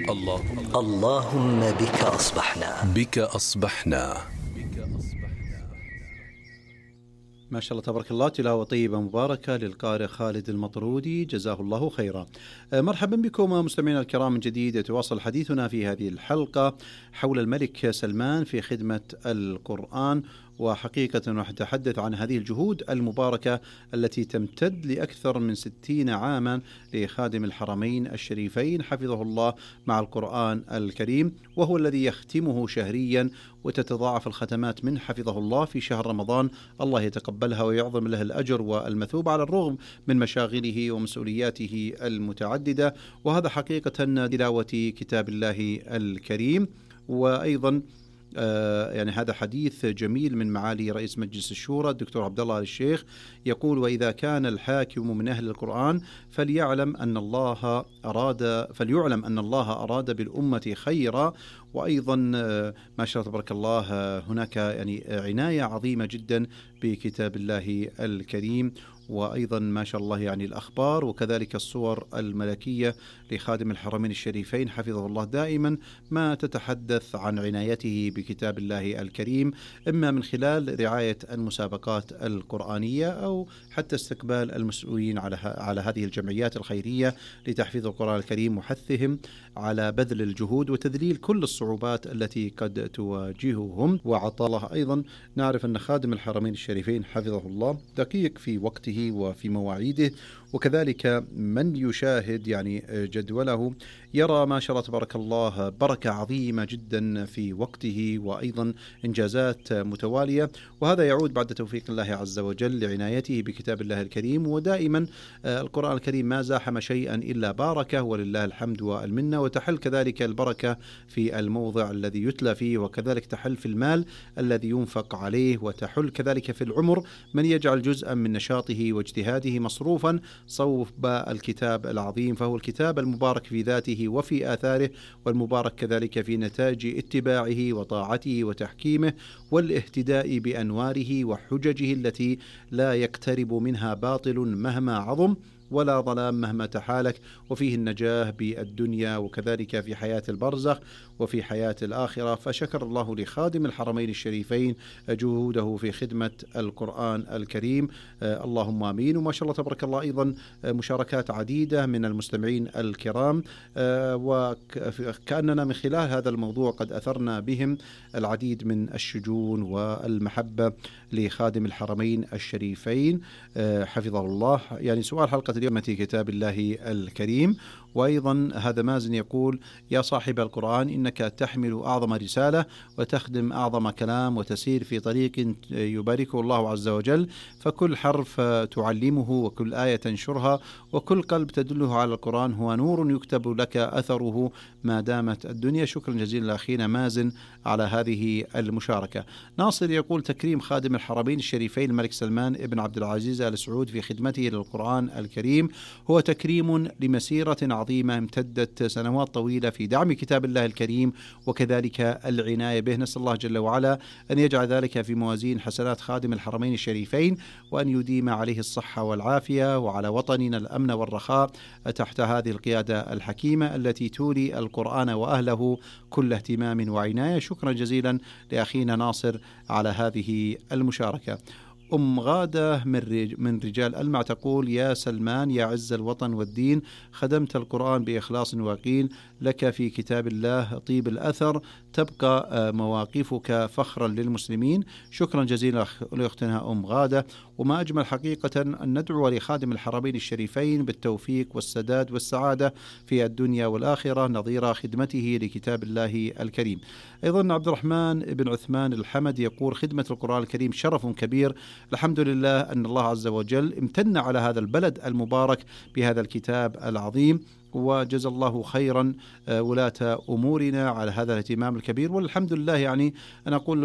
اللهم بك أصبحنا. ما شاء الله تبارك الله، تلاوة طيبة مباركة للقارئ خالد المطرودي، جزاه الله خيرا. مرحبا بكم مستمعينا الكرام من جديد. يتواصل حديثنا في هذه الحلقة حول الملك سلمان في خدمة القرآن، وحقيقة نتحدث عن هذه الجهود المباركة التي تمتد لأكثر من 60 عاما لخادم الحرمين الشريفين حفظه الله مع القرآن الكريم، وهو الذي يختمه شهريا وتتضاعف الختمات من حفظه الله في شهر رمضان. الله يتقبلها ويعظم له الأجر والمثوب على الرغم من مشاغله ومسؤولياته المتعددة. وهذا حقيقة تلاوة كتاب الله الكريم. وأيضا يعني هذا حديث جميل من معالي رئيس مجلس الشورى الدكتور عبد الله الشيخ، يقول: وإذا كان الحاكم من أهل القرآن فليعلم أن الله أراد بالأمة خيرا. وأيضا ما شاء الله تبارك الله هناك يعني عناية عظيمة جدا بكتاب الله الكريم، وأيضا ما شاء الله يعني الأخبار وكذلك الصور الملكية لخادم الحرمين الشريفين حفظه الله دائما ما تتحدث عن عنايته بكتاب الله الكريم، إما من خلال رعاية المسابقات القرآنية أو حتى استقبال المسؤولين على هذه الجمعيات الخيرية لتحفيظ القرآن الكريم وحثهم على بذل الجهود وتذليل كل الصعوبات التي قد تواجههم وعطالها. أيضا نعرف أن خادم الحرمين الشريفين حفظه الله دقيق في وقته وفي مواعيده، وكذلك من يشاهد يعني جدوله يرى ما شاء الله تبارك الله بركة عظيمة جدا في وقته وأيضا إنجازات متوالية، وهذا يعود بعد توفيق الله عز وجل لعنايته بكتاب الله الكريم. ودائما القرآن الكريم ما زاحم شيئا إلا باركه، ولله الحمد والمنة. وتحل كذلك البركة في الموضع الذي يتلى فيه، وكذلك تحل في المال الذي ينفق عليه، وتحل كذلك في العمر من يجعل جزءا من نشاطه واجتهاده مصروفا صوب الكتاب العظيم. فهو الكتاب المبارك في ذاته وفي آثاره، والمبارك كذلك في نتاج اتباعه وطاعته وتحكيمه والاهتداء بأنواره وحججه التي لا يقترب منها باطل مهما عظم ولا ظلام مهما تحالك، وفيه النجاة بالدنيا وكذلك في حياة البرزخ وفي حياة الآخرة. فشكر الله لخادم الحرمين الشريفين جهوده في خدمة القرآن الكريم، اللهم آمين. وما شاء الله تبارك الله أيضا مشاركات عديدة من المستمعين الكرام، وكأننا من خلال هذا الموضوع قد أثرنا بهم العديد من الشجون والمحبة لخادم الحرمين الشريفين حفظه الله. يعني سؤال حلقة اليوم في كتاب الله الكريم. وأيضا هذا مازن يقول: يا صاحب القرآن، إنك تحمل أعظم رسالة وتخدم أعظم كلام وتسير في طريق يباركه الله عز وجل، فكل حرف تعلمه وكل آية تنشرها وكل قلب تدله على القرآن هو نور يكتب لك أثره ما دامت الدنيا. شكرا جزيلا لأخينا مازن على هذه المشاركة. ناصر يقول: تكريم خادم الحرمين الشريفين الملك سلمان ابن عبد العزيز آل سعود في خدمته للقرآن الكريم هو تكريم لمسيرة عظيمة امتدت سنوات طويلة في دعم كتاب الله الكريم وكذلك العناية به. نسأل الله جل وعلا أن يجعل ذلك في موازين حسنات خادم الحرمين الشريفين، وأن يديم عليه الصحة والعافية وعلى وطننا الأمن والرخاء تحت هذه القيادة الحكيمة التي تولي القرآن وأهله كل اهتمام وعناية. شكرا جزيلا لأخينا ناصر على هذه المشاركة. غادة من رجال ألمع تقول: يا سلمان يا عز الوطن والدين، خدمت القرآن بإخلاص ويقين، لك في كتاب الله طيب الأثر، تبقى مواقفك فخرا للمسلمين. شكرا جزيلا لأختنا غادة. وما أجمل حقيقة أن ندعو لخادم الحرمين الشريفين بالتوفيق والسداد والسعادة في الدنيا والآخرة نظير خدمته لكتاب الله الكريم. أيضا عبد الرحمن بن عثمان الحمد يقول: خدمة القرآن الكريم شرف كبير، الحمد لله أن الله عز وجل امتن على هذا البلد المبارك بهذا الكتاب العظيم، وجزا الله خيرا ولاة أمورنا على هذا الاهتمام الكبير. والحمد لله يعني أنا أقول